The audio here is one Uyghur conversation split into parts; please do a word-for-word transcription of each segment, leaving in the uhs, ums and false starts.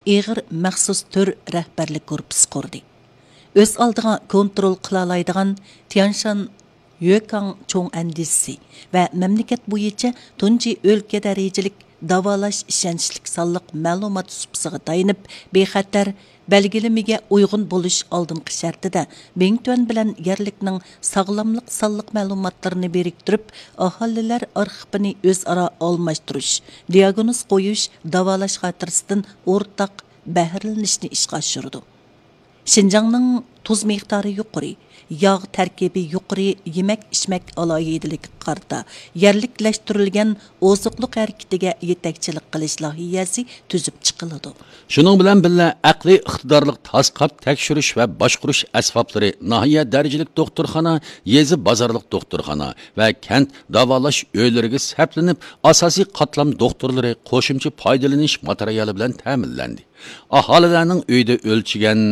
ئېغىر مەخسۇس تۈر رەھبەرلىك گۇرۇپپىسى قۇردى. ئۆز ئالدىغا كونترول قىلالايدىغان تيانشان يۆكاڭ چوڭ ئەندىزىسى ۋە مەملىكەت بويىچە تۇنجى ئۆلكە دەرىجىلىك داۋالاش ئىشەنچلىك سانلىق مەلۇمات سۇپىسىغا تايىنىپ، بىخەتەر بەلگىلىمىگە ئۇيغۇن بولۇش ئالدىنقى شەرتىدە، بىڭتۈەن بىلەن يەرلىكنىڭ ساغلاملىق سانلىق مەلۇماتلىرىنى بىرىكتۈرۈپ، ئاھالىلەر ئارخىپىنى ئۆزئارا ئالماشتۇرۇش، دىياگنوز قويۇش، داۋالاش خاتىرىسىدىن ئورتاق بەھرىلىنىشنى ئىشقا ئاشۇرىدۇ. شىنجاڭنىڭ تۇز مىقدارى يۇقىرى، ياغ تەركىبى يۇقىرى يېمەك-ئىچمەك ئالاھىدىلىكىگە قارىتا، يەرلىكلەشتۈرۈلگەن ئوزۇقلۇق ھەرىكىتىگە يېتەكچىلىك قىلىش لايىھەسى تۈزۈپ چىقىلىدۇ. شۇنىڭ بىلەن بىللە، ئەقلىي ئىقتىدارلىق تاسقاپ تەكشۈرۈش ۋە باشقۇرۇش ئەسۋابلىرى ناھىيە دەرىجىلىك دوختۇرخانا، يېزا بازارلىق دوختۇرخانا ۋە كەنت داۋالاش ئۆيلىرىگە سەپلىنىپ، ئاساسىي قاتلام دوختۇرلىرى قوشۇمچە پايدىلىنىش ماتېرىيالى بىلەن تەمىنلەندى. ئاھالىلەرنىڭ ئۆيدە ئۆلچىگەن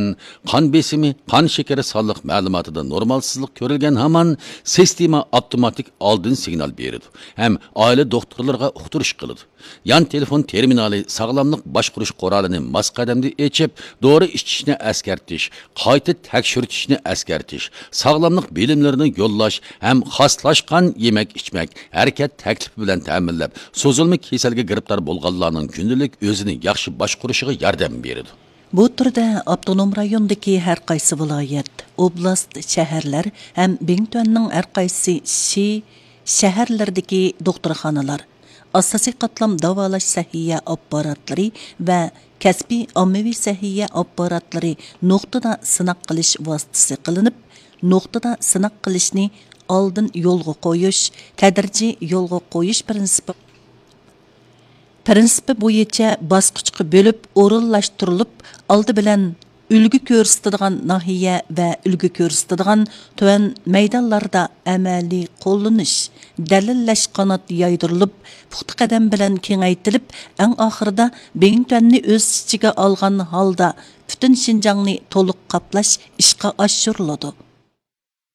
قان بېسىمى، قان شېكىرى سانلىق مەلۇماتىدا نورمالسىزلىق كۆرۈلگەن ھامان، سىستېما ئاپتوماتىك ئالدىن سىگنال بېرىدۇ ھەم ئائىلە دوختۇرلىرىغا ئۇقتۇرۇش قىلىدۇ. يان تېلېفون تېرمىنالى ساغلاملىق باشقۇرۇش قورالىنى ماس قەدەمدە ئېچىپ، دورا ئىچىشنى ئەسكەرتىش، قايتا تەكشۈرتۈشنى ئەسكەرتىش، ساغلاملىق بىلىملىرىنى يوللاش ھەم خاسلاشقان يېمەك-ئىچمەك، ھەرىكەت تەكلىپى بىلەن تەمىنلەپ، سوزۇلما كېسەلگە گىرىپتار بولغانلارنىڭ كۈندىلىك ئۆزىنى ياخشى باشقۇرۇشىغا ياردەم بېرىدۇ. بۇ تۈردە ئاپتونوم رايوندىكى ھەر قايسى ۋىلايەت، ئوبلاست، شەھەرلەر ھەم بىڭتۈەننىڭ ھەر قايسى شى، شەھەرلىرىدىكى دوختۇرخانىلار، ئاساسىي قاتلام داۋالاش سەھىيە ئاپپاراتلىرى ۋە كەسپىي ئاممىۋى سەھىيە ئاپپاراتلىرى نۇقتىدا سىناق قىلىش ۋاسىتىسى قىلىنىپ، نۇقتىدا سىناق قىلىشنى ئالدىن يولغا قويۇش، تەدرىجىي يولغا قويۇش پىرىنسىپى پىرىنسىپى بويىچە باسقۇچقا بۆلۈپ ئورۇنلاشتۇرۇلۇپ، ئالدى بىلەن ئۈلگە كۆرسىتىدىغان ناھىيە ۋە ئۈلگە كۆرسىتىدىغان تۆۋەن مەيدانلاردا ئەمەلىي قوللىنىش، دەلىللەش قانات يايدۇرۇلۇپ، پۇختا قەدەم بىلەن كېڭەيتىلىپ، ئەڭ ئاخىرىدا بىڭتۈەننى ئۆز ئىچىگە ئالغان ھالدا پۈتۈن شىنجاڭنى تولۇق قاپلاش ئىشقا ئاشۇرۇلىدۇ.